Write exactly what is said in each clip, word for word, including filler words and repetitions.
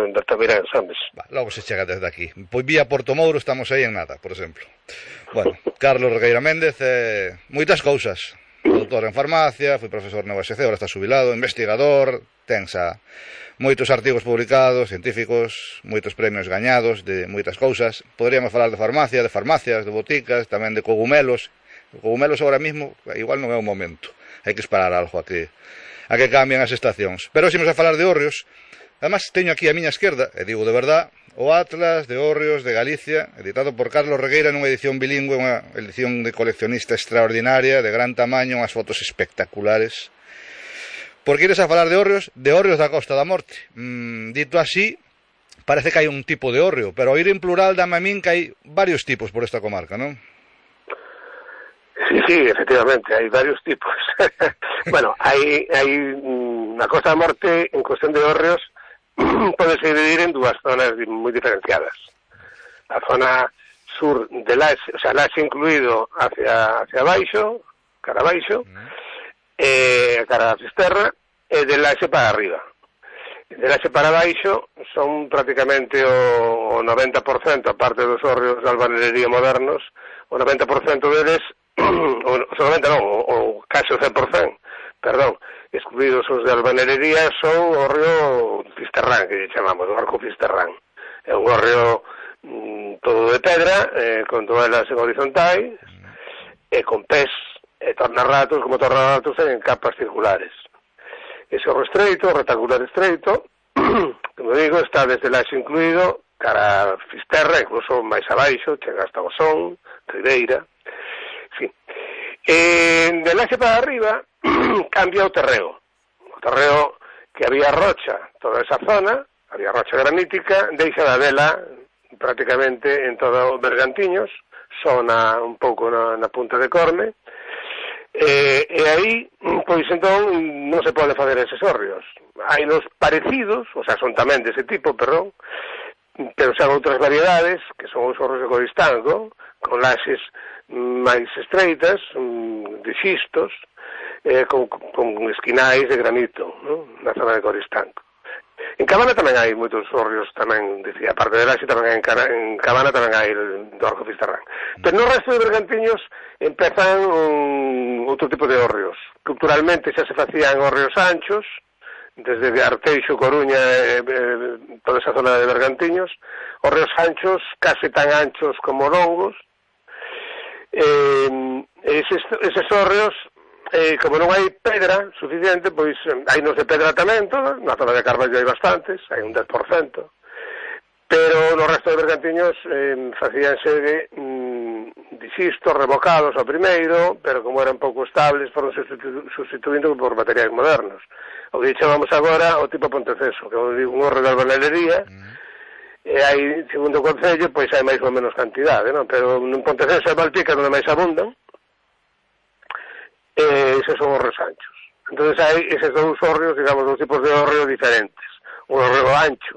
en Bertavirán, sabes? Va, logo se chega desde aquí. Pois vía Porto Mouro estamos aí en nada, por exemplo. Bueno, Carlos Regueira Méndez, eh, moitas cousas. Doutor en farmacia, foi profesor na U S C, ahora está xubilado, investigador, tensa moitos artigos publicados, científicos, moitos premios gañados de moitas cousas. Poderíamos falar de farmacia, de farmacias, de boticas, tamén de cogumelos. Cogumelos agora mismo, igual non é o momento. Hai que esperar algo a que, a que cambien as estacións. Pero se imos a falar de hórreos, además teño aquí a miña esquerda, e digo de verdad, o Atlas de Hórreos de Galicia, editado por Carlos Regueira nunha edición bilingüe, unha edición de coleccionista extraordinaria, de gran tamaño, unhas fotos espectaculares. Porque ires a falar de hórreos, de hórreos da Costa da Morte. Mm, dito así, parece que hai un tipo de hórreo, pero ao ir en plural dame a min que hai varios tipos por esta comarca, non? Sí, sí, efectivamente, hai varios tipos. Bueno, hai, hai na Costa da Morte, en cuestión de hórreos, podese dividir en dúas zonas moi diferenciadas. A zona sur de Laxe, o sea, Laxe incluído hacia, hacia baixo, cara abaixo, mm. eh, cara a Fisterra, e de Laxe para arriba. De Laxe para baixo son prácticamente o, o noventa por cento, aparte dos hórreos de albanería modernos, o noventa por cento deles, o, o noventa non, o, o case o cen por cento, perdón, excluídos os de albanería, son o hórreo Fisterrán, que lle chamamos, o arco Fisterrán. É un hórreo mm, todo de pedra, eh, con toelas en horizontais, e con pés e tornarratos, como tornarratos en capas circulares. Ese hórreo estreito, rectangular estreito, como digo, está desde Laxe incluído, cara a Fisterra, incluso máis abaixo, chega hasta Osón, Ribeira, en fin. Eh, de Laxe para arriba, cambia o terreo. O terreo que había rocha, toda esa zona, había rocha granítica, deixa da vela prácticamente en todo o Bergantiños, só na, un pouco na, na punta de Corme, e, e aí, pois entón, non se pode fazer eses hórreos. Hai nos parecidos, o sea, son tamén dese tipo, perdón, pero xa outras variedades, que son os hórreos de Coristanco, con laxes máis estreitas, de xistos, eh, con, con esquinais de granito, ¿no? Na zona de Coristanco. En Cabana tamén hai moitos hórreos, tamén, dicía, aparte de Laxe, tamén hai en, en Cabana tamén hai el do Arco Fisterrán. Pero no resto de Bergantiños empezan um, outro tipo de hórreos. Culturalmente xa se facían hórreos anchos, desde Arteixo, Coruña, eh, eh, toda esa zona de Bergantiños, hórreos anchos, case tan anchos como longos. Eh, eses, eses hórreos, eh, como non hai pedra suficiente, pois hai nos de pedra tamén, toda, na zona de Carballo hai bastantes, hai un dez por cento, pero no resto de Bergantiños eh, facíanse de, mm, de xistos revocados ao primeiro, pero como eran pouco estables, foron sustitu sustituindo por materiais modernos. O que chamamos agora o tipo Ponteceso, que é un hórreo de albanería, mm. e hai, segundo o Concello, pois hai máis ou menos cantidade, non? Pero en Ponteceso e Valpica onde máis abundan, e eses son hórreos anchos. Entón hai eses dous hórreos, digamos, dous tipos de hórreo diferentes. Un hórreo ancho,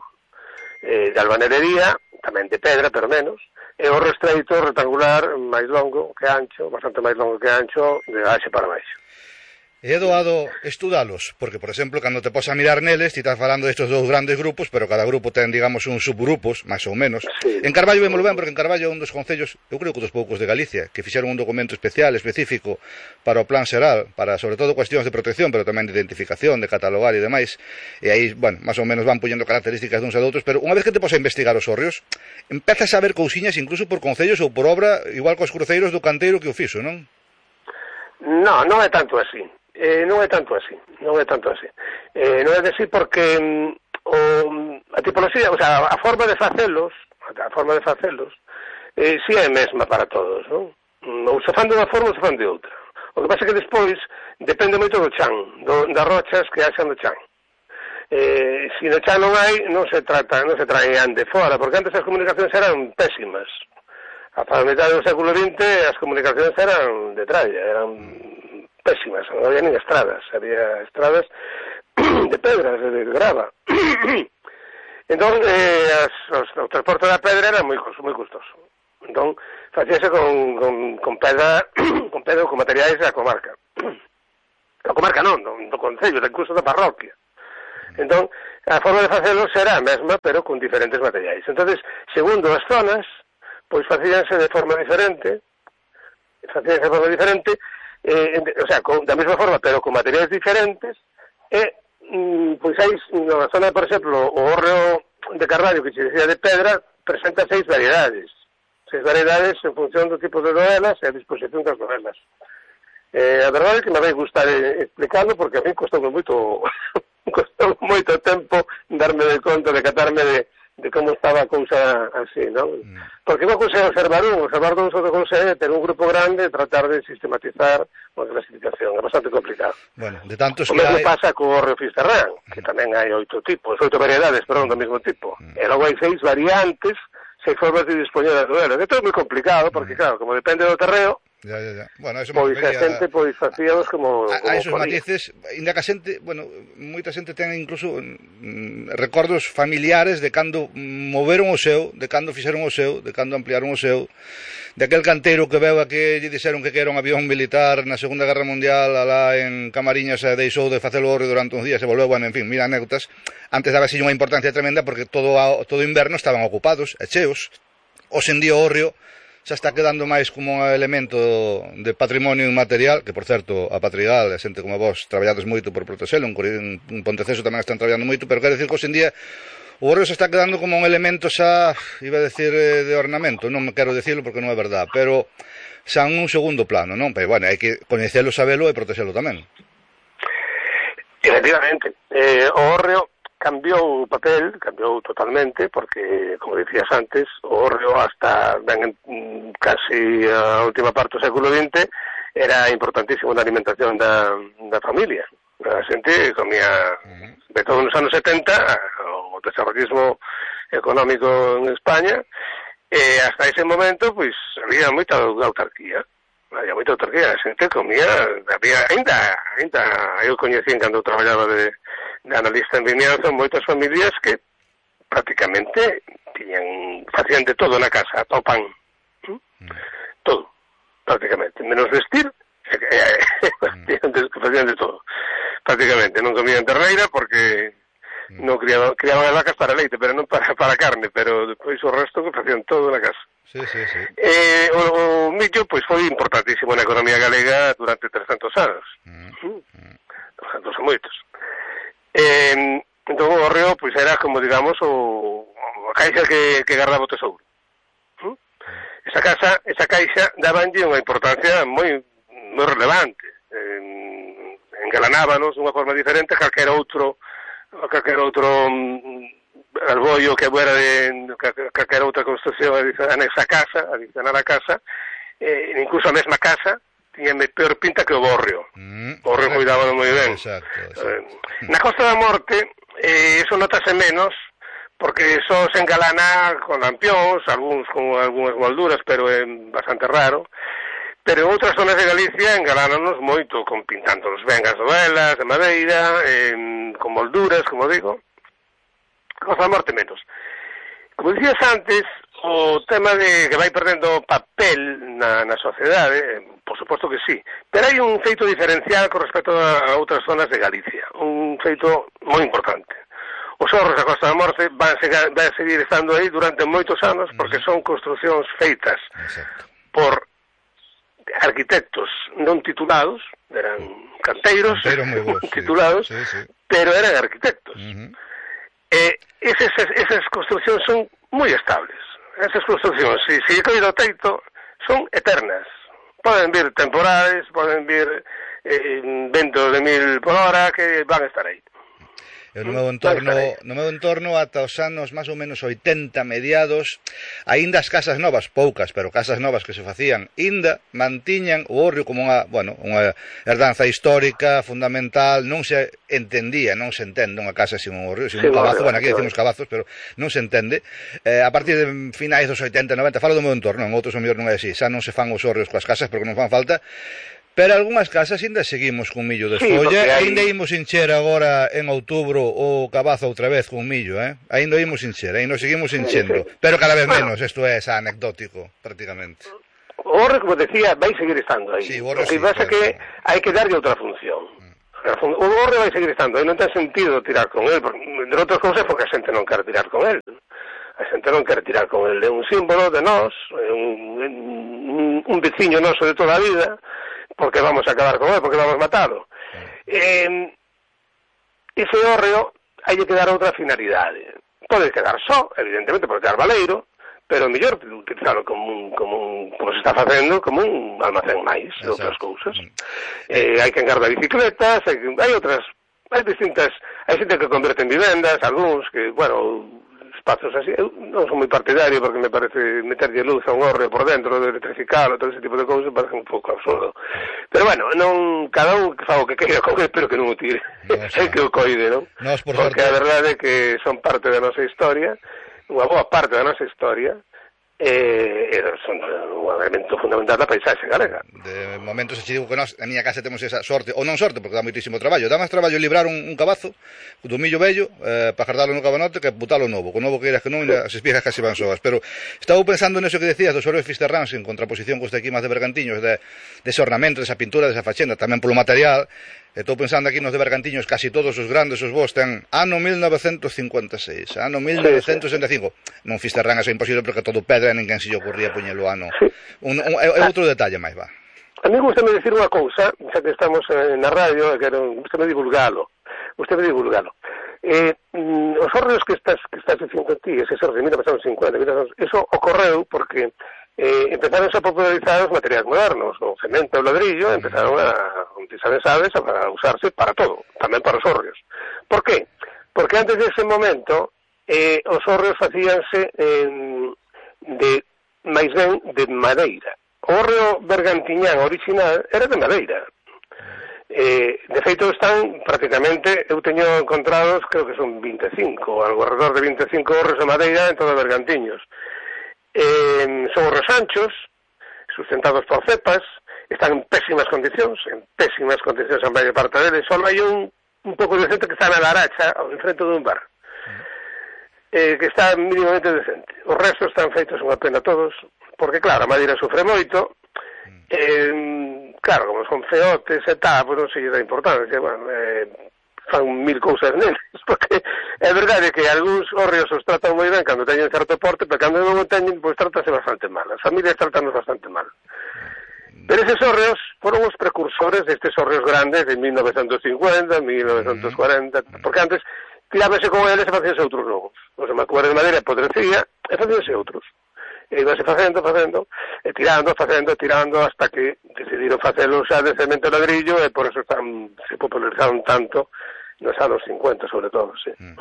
eh, de albanería, tamén de pedra, pero menos, e o hórreo estreito, rectangular, máis longo que ancho, bastante máis longo que ancho, de Laxe para baixo. E é doado estudalos, porque, por exemplo, cando te pos a mirar neles, ti estás falando destes dous grandes grupos, pero cada grupo ten, digamos, uns subgrupos, máis ou menos. Sí. En Carballo vémolo ben, porque en Carballo é un dos concellos, eu creo que dos poucos de Galicia, que fixeron un documento especial, específico, para o plan xeral, para, sobre todo, cuestións de protección, pero tamén de identificación, de catalogar e demais. E aí, bueno, máis ou menos van puñendo características duns e doutros, pero unha vez que te pos a investigar os hórreos, empezas a ver cousiñas incluso por concellos ou por obra, igual cos cruceiros do canteiro que o fixo, non? Non, non é tanto así. Eh, non é tanto así, non é tanto así. Eh, non é así porque mm, o, a tipoloxía, o sea, a forma de facelos, a forma de facelos, eh, si é mesma para todos, non? Ou se fan de unha forma ou se fan de outra. O que pasa é que despois depende moito do chan, do, das rochas que haxan no chan. Eh, se no chan non hai, non se trata, non se traen de fora, porque antes as comunicacións eran pésimas. A mitad do século vinte as comunicacións eran de tralla, eran pésimas, non había nin estradas, había estradas de pedras, de grava. Entón, eh, as, os, o transporte da pedra era moi, moi custoso. Entón, facíase con, con, con pedra, con pedra, con materiais da comarca. Da comarca non, do, do concello, incluso da parroquia. Entón, a forma de facelo será a mesma, pero con diferentes materiais. Entonces, segundo as zonas, pois facíanse de forma diferente, facíanse de forma diferente, eh, o sea, con, da mesma forma, pero con materiais diferentes, e, mm, pois hai, na zona, por exemplo, o hórreo de Carballo, que se decía de pedra, presenta seis variedades. Seis variedades en función do tipo de novelas e a disposición das novelas. Eh, a verdade é que me vai gustar eh, explicando, porque a mí costou moito costou moito tempo darme de conta, de catarme de, de como estaba a cousa así, non? Mm. Porque non consegue observar un, observar dous ou consegue ter un grupo grande e tratar de sistematizar unha clasificación, é bastante complicado. Bueno, de tantos o mesmo que hai... pasa co hórreo Fisterrán, que tamén hai oito tipos, oito variedades, perdón, do mesmo tipo. Mm. E logo hai seis variantes, seis formas de dispoñer das novelas. Isto é moi complicado, porque, mm. claro, como depende do terreo, Ya, ya, ya. Bueno, eso pois a xente pois facíamos como, a, como a esos matices, ainda que a xente, bueno, moita xente ten incluso mm, recordos familiares de cando moveron o seu, de cando fixeron o seu, de cando ampliaron o seu, de aquel canteiro que veu a que lle dixeron que era un avión militar na Segunda Guerra Mundial alá en Camariñas e deixou de facer o hórreo durante uns días e volveu, bueno, en fin, mira anécdotas. Antes daba así unha importancia tremenda porque todo a, todo inverno estaban ocupados e cheos. Os en día o hórreo xa está quedando máis como un elemento de patrimonio inmaterial, que, por certo, a Patrigal, a xente como vos, traballades moito por protexelo, en Ponteceso tamén están traballando moito, pero quero decir que, hoxe en día, o hórreo se está quedando como un elemento xa, iba a decir, de ornamento, non me quero decirlo porque non é verdad, pero xa en un segundo plano, non? Pero, bueno, hai que coñecelo, sabelo e protexelo tamén. Efectivamente, eh, o hórreo cambiou o papel, cambiou totalmente, porque, como dicías antes, o hórreo hasta ben, casi a última parte do século vinte era importantísimo na alimentación da, da familia. A xente comía, de todos os anos setenta, o desarrollismo económico en España, e hasta ese momento, pois, había moita autarquía. Había moita autarquía, a xente comía, había, ainda, ainda, eu coñecín cando traballaba de de analista en vimianzo, moitas familias que prácticamente tiñan, facían de todo na casa, ata o pan. ¿Mm? Todo, prácticamente. Menos vestir, facían de, facían de todo. Prácticamente. Non comían terneira porque non criaban, criaban as vacas para leite, pero non para, para carne, pero depois o resto que facían todo na casa. Sí, sí, sí. Eh, o, o millo, pois, foi importantísimo na economía galega durante trescentos anos. Mm. Mm. trescentos e moitos. Eh, entón o hórreo pois era como digamos o, a caixa que, que guardaba o tesouro. ¿Mm? Esa casa, esa caixa dabanlle unha importancia moi moi relevante. Eh, engalanábanos dunha forma diferente a calquera outro a calquera outro um, alboio que fuera de calquera outra construcción anexa a casa, adicionar a casa, eh, incluso a mesma casa tiña peor pinta que o hórreo. Mm, o hórreo cuidábalo moi ben. Exacto, exacto. Eh, na Costa da Morte, eh, eso notase menos, porque só se engalana con lampións, algúns con algunhas molduras, pero é bastante raro. Pero en outras zonas de Galicia engalánanos moito, con pintándonos ben as novelas de madeira, eh, con molduras, como digo. Na Costa da Morte menos. Como dicías antes, o tema de que vai perdendo papel na, na sociedade, por suposto que sí, pero hai un feito diferencial con respecto a, a outras zonas de Galicia, un feito moi importante. Os horros da Costa da Morte van, van seguir estando aí durante moitos anos porque son construcións feitas Exacto. por arquitectos non titulados, eran canteiros vos, titulados, sí. Sí, sí. pero eran arquitectos. Uh-huh. E esas, esas construcións son moi estables. Esas construcións, se si, si coido o teito, son eternas. Poden vir temporales, poden vir eh, ventos de mil por hora que van a estar aí. Eu no meu entorno, no meu entorno ata os anos máis ou menos oitenta mediados, aínda as casas novas, poucas, pero casas novas que se facían, aínda mantiñan o hórreo como unha, bueno, unha herdanza histórica fundamental, non se entendía, non se entende unha casa sin un hórreo, sin sí, un cabazo, bueno, aquí decimos cabazos, pero non se entende. Eh, a partir de finais dos oitenta, noventa, falo do meu entorno, en outros o mellor non é así, xa non se fan os hórreos coas casas porque non fan falta. Pero algunhas casas ainda seguimos con millo de escolla, sí, hai... ainda imos encher agora en outubro o cabazo outra vez con millo, eh? Ainda imos encher, ainda seguimos enchendo, sí, sí. Pero cada vez bueno, menos, isto é xa anecdótico, prácticamente. O hórreo, como decía, vai seguir estando aí. Sí, o que sí, pasa claro, que claro. hai que darlle outra función. O hórreo vai seguir estando, e non ten sentido tirar con el, de outras cousas porque a xente non quer tirar con el. A xente non quer tirar con el, é un símbolo de nós, é un, un, un veciño noso de toda a vida, porque vamos a acabar con el, porque vamos a matalo. Eh, ese hórreo hai que dar outra finalidade. Pode quedar só, evidentemente, pode quedar valeiro, pero mellor utilizarlo como un, como un, como se está facendo, como un almacén máis de outras cousas. Eh, hai que engarda bicicletas, hai, hai outras, hai distintas, hai xente que converte en vivendas, algúns que, bueno, espazos así, eu non son moi partidario porque me parece meterlle luz a un hórreo por dentro, de electrificalo, todo ese tipo de cousas, parece un pouco absurdo. Pero bueno, non, cada un que fa o que queira con él, pero que non o tire, no, o sea, é que o coide, non? Nos, por porque a verdade é que son parte da nosa historia, unha boa parte da nosa historia, e eh, son un elemento fundamental da paisaxe galega. De momento se che digo que nós, na miña casa temos esa sorte, ou non sorte, porque dá moitísimo traballo, dá máis traballo librar un, un cabazo do millo vello eh, para jardalo no cabanote que botalo novo, con novo que iras que non, as espigas casi van soas, pero estaba pensando neso que decías dos hórreos fisterráns en contraposición cos de aquí máis de Bergantiños, de, de ese ornamento, de esa pintura, de esa fachenda, tamén polo material. Estou pensando aquí nos de Bergantiños, casi todos os grandes, os vos, ten ano mil novecentos cincuenta e seis, ano mil novecentos sesenta e cinco. Non fisterrán, eso é imposible porque todo pedra, ninguén se lle ocurría poñelo ano. Sí. Un, un, é outro detalle máis, va. A mí gustame dicir unha cousa, xa que estamos na radio, que gustame divulgalo, gustame divulgalo. Eh, mm, os hórreos que estás, que estás dicindo ti, ese hórreo de mil novecentos cincuenta, eso ocorreu porque eh, empezaron a popularizar os materiais modernos, o cemento e o ladrillo, empezaron a utilizar sabes, a usarse para todo, tamén para os hórreos. Por qué? Porque antes dese momento eh, os hórreos facíanse eh, de, máis ben, de madeira. O hórreo bergantiñán original era de madeira. Eh, de feito están prácticamente, eu teño encontrados, creo que son vinte e cinco, algo alrededor de vinte e cinco hórreos de madeira en todo Bergantiños. Eh, son hórreos anchos, sustentados por cepas, están en pésimas condicións, en pésimas condicións a maior parte deles, só hai un, un pouco decente que está na Laracha, ao enfrente dun bar, eh, que está mínimamente decente. Os restos están feitos unha pena todos, porque claro, a madeira sufre moito, eh, claro, como son feotes e tal, pois non se lle dá importancia, bueno, eh, fan mil cousas neles, porque é verdade que algúns hórreos os tratan moi ben cando teñen certo porte, pero cando non o teñen, pois trátase bastante mal, as familias tratanos bastante mal. Pero eses hórreos foron os precursores destes hórreos grandes de mil novecentos cincuenta, mil novecentos cuarenta, porque antes tirábase con eles e facíanse outros novos. Os macuares de madeira podrecía e facíanse outros. E ibase facendo, facendo, e tirando, facendo, tirando, hasta que decidiron facelo xa de cemento e ladrillo e por eso están, se popularizaron tanto nos anos cincuenta, sobre todo, sí. Mm.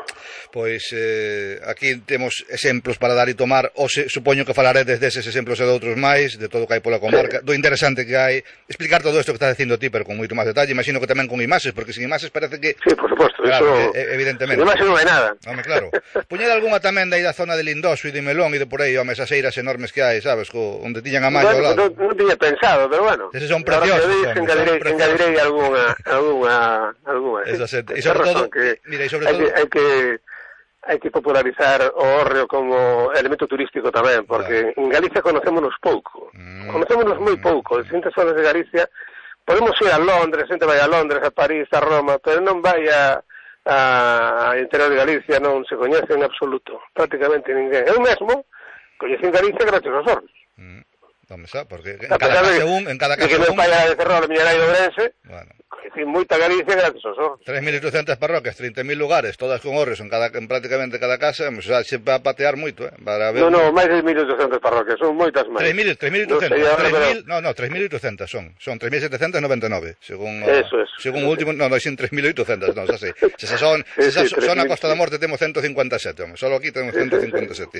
Pois eh, aquí temos exemplos para dar e tomar, ou se, supoño que falaredes deses exemplos e de outros máis, de todo o que hai pola comarca, sí, do interesante que hai, explicar todo isto que estás dicindo ti, pero con moito máis detalle, imagino que tamén con imaxes, porque sin imaxes parece que... Sí, por suposto, claro, eso... Eh, evidentemente. Sin imaxes non hai nada. Home, claro. Puñer algunha tamén de aí da zona de Lindoso e de Melón e de por aí, home, esas eiras enormes que hai, sabes, co, onde tiñan a malla bueno, ao lado. Non, non tiña pensado, pero bueno. Eses son preciosos, home, engadirei, son engadirei algunha, algunha, algunha. Eso, sí. E sobre todo... Que... Mira, e sobre hai todo... que, hai que hai que popularizar o hórreo como elemento turístico tamén, porque claro, en Galicia conocémonos pouco, mm, conocémonos moi pouco, en distintas zonas de Galicia podemos ir a Londres, xente vai a Londres, a París, a Roma, pero non vai a, a, a interior de Galicia, non se coñece en absoluto, prácticamente ninguén. Eu mesmo coñecín Galicia gracias aos hórreos. Mm, non me sa, porque en cada casa un, en cada casa un... Que me un... falla de Ferrol, miña nai de Ourense, bueno, coñecín moita Galicia gracias aos hórreos. tres mil oitocentas parroquias, trinta mil lugares, todas con hórreos en, cada, en prácticamente cada casa, o sea, se va a patear moito, eh, para ver... No, no, máis de mil oitocentas parroquias, son moitas máis. tres mil, tres mil oitocentas, no, tres mil, no, no, tres mil oitocentas son, son tres mil setecientos noventa e nove, según eso, eso, según o último, no, no, son tres mil oitocentas, no, xa sei. Se se son, se se son a Costa da Morte temos ciento cincuenta e sete, home, solo aquí temos ciento cincuenta e sete.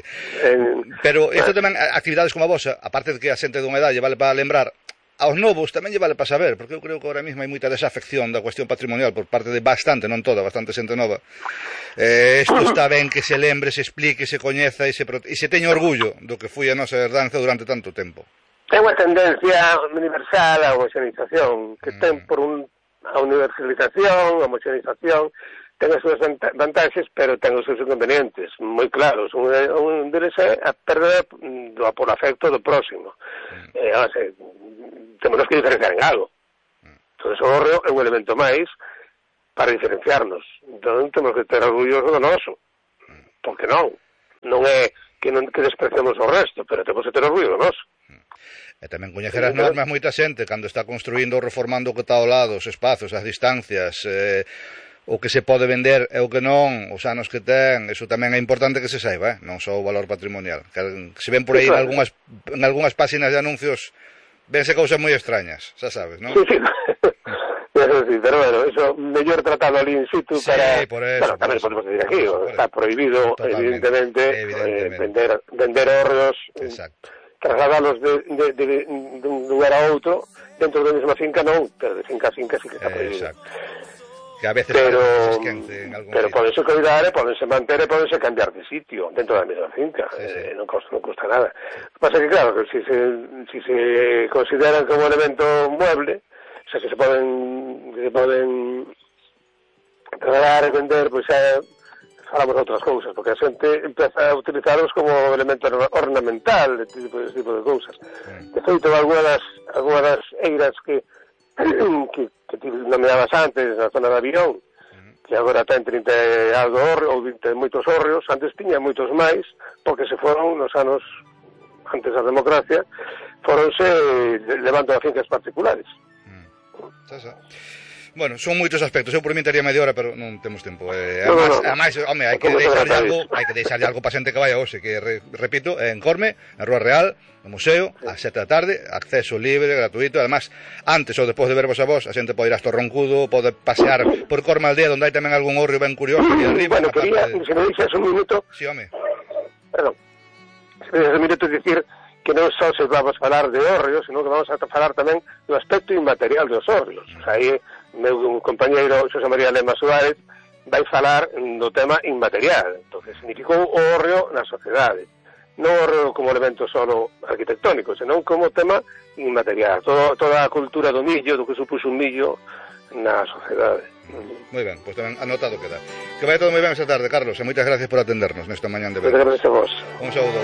Pero isto tamén, actividades como a vosa, aparte de que a xente dunha idade vale para lembrar, aos novos tamén lle vale para saber, porque eu creo que ahora mesmo hai moita desafección da cuestión patrimonial por parte de bastante, non toda, bastante xente nova. Eh, isto está ben que se lembre, se explique, se coñeza e se, e se teña orgullo do que foi a nosa herdanza durante tanto tempo. É unha tendencia universal a homoxenización, que mm. ten por un a universalización, a homoxenización, ten as súas vantaxes, pero ten os seus inconvenientes, moi claros. Un, un deles é a perda do por afecto do próximo. Mm. Eh, o sea, temos que diferenciar en algo. Mm. Entón, o hórreo é un elemento máis para diferenciarnos. Entón temos que ter orgullo do noso, porque non non é que non que despreciamos o resto, pero temos que ter orgullo do noso. E tamén coñecer as normas moita xente cando está construindo ou reformando o que está ao lado, os espazos, as distancias, eh, o que se pode vender e o que non, os anos que ten, eso tamén é importante que se saiba, eh? Non só o valor patrimonial. Que se ven por aí sí, claro. en algunhas, en algunhas páxinas de anuncios, vense cousas moi extrañas, xa sabes, non? Sí, sí. Eso sí, pero bueno, eso mellor tratado ali in situ sí, para... por eso, bueno, tamén podemos decir aquí, está prohibido, evidentemente, evidentemente. Eh, vender, vender hórreos, trasladalos de, de, de, de un lugar a outro, dentro da mesma finca non, pero de finca a finca sí que está prohibido. Exacto. Que a veces pero, en algún pero podense cuidar e podense manter e podense cambiar de sitio dentro da mesma finca, sí, sí. Eh, non, costa, non costa nada. O que pasa que claro, que si se, si se consideran como elemento mueble, o sea, que se poden que se poden trasladar e vender, pois xa falamos de outras cousas, porque a xente empeza a utilizarlos como elemento ornamental, de tipo, de tipo de cousas. Mm. De feito, algunas das, algunas das eiras que que, que ti nomeabas antes na zona de Avión, mm. que agora ten trinta e algo hórreos, ou vinte moitos hórreos, antes tiña moitos máis, porque se foron nos anos antes da democracia, foronse levando a fincas particulares. Xa, xa. Bueno, son moitos aspectos. Eu por mí tería media hora, pero non temos tempo. Eh, además, no, no, no. además, home, hai que deixarlle algo, hai que deixarlle algo para xente que vai a hoxe, que re, repito, en Corme, na Rúa Real, no museo, sí. ás sete da tarde, acceso libre, gratuito. Además, antes ou despois de vervos a vos, a xente pode ir hasta o Roncudo, pode pasear por Corme Aldea, onde hai tamén algún hórreo ben curioso aquí arriba. Bueno, quería, de... se me dixas un minuto. Sí, home. Perdón. Se me dixas un minuto dicir que non só se vamos a falar de hórreos, senón que vamos a falar tamén do aspecto inmaterial dos hórreos. Mm. O sea, aí meu compañeiro Xosé María Lema Suárez vai falar do tema inmaterial, do que significou o hórreo na sociedade. Non o hórreo como elemento solo arquitectónico, senón como tema inmaterial. Todo, toda a cultura do millo, do que supuxo un millo na sociedade. Moi ben, pois tamén anotado queda. Que vai todo moi ben esta tarde, Carlos, e moitas gracias por atendernos nesta mañán de verano. Moitas gracias a vos. Un saúdo.